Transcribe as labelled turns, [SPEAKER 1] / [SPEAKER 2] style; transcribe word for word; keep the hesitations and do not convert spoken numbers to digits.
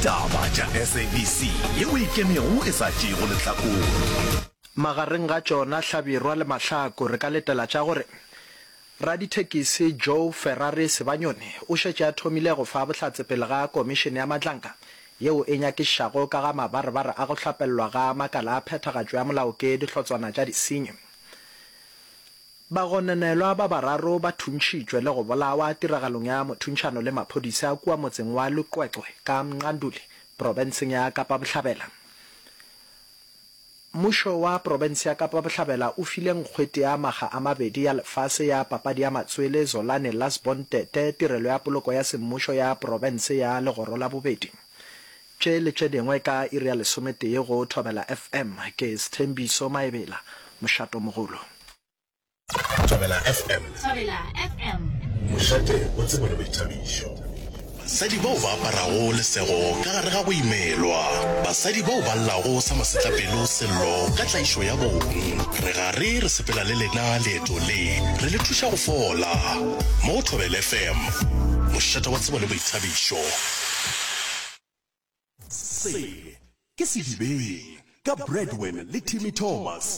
[SPEAKER 1] Taba tša S A B C yeo e ikemego e sa tšeego lehlakore.
[SPEAKER 2] Magareng ga tšona Hlabirwa le Mahlaku re ka letela tša gore radithekisi Joe Ferrari Sibanyoni o šetše a thomile go fa bohlatse pele ga Komišene ya Madlanka yeo e nyakišišago ka ga mabarebare a go hlapellwa ga makala a phethagatšo ya molao ke dihlotswana tša disenyi. Bagononelwa ba bararo ba thuntšhitšwe le go bolawa tiragalong ya mothuntšhano le maphodisa kua motseng wa Luqweqwe ka Mqanduli, profenseng ya Kapa Bohlabela. Mmušo wa profense ya Kapa Bohlabela o file nkgwete ya makga a mabedi ya lefase ya papadi ya matswele Zolani Lasbon Tete tirelo ya poloko ya semmušo ya profense ya legoro la bobedi. Tše le tše dingwe ka iri ya lesometee go Thobela F M. Ke Sthembiso Maebela, Mošatomogolo.
[SPEAKER 1] Thobela F M.
[SPEAKER 3] Thobela F M.
[SPEAKER 1] Mošate wa tsebo le boithabišo. Basadi bao ba aparago lesego ka gare ga go imelwa. Basadi bao ba llago sa masetlapelo sello ka tlaišo ya bong. Re gare re sepela le lena leeto le, re le thuša go fola. Mo go Thobela F M. Mošate wa tsebo le boithabišo. Se ke Sedibeng ka Bradwin le Timmy Thomas.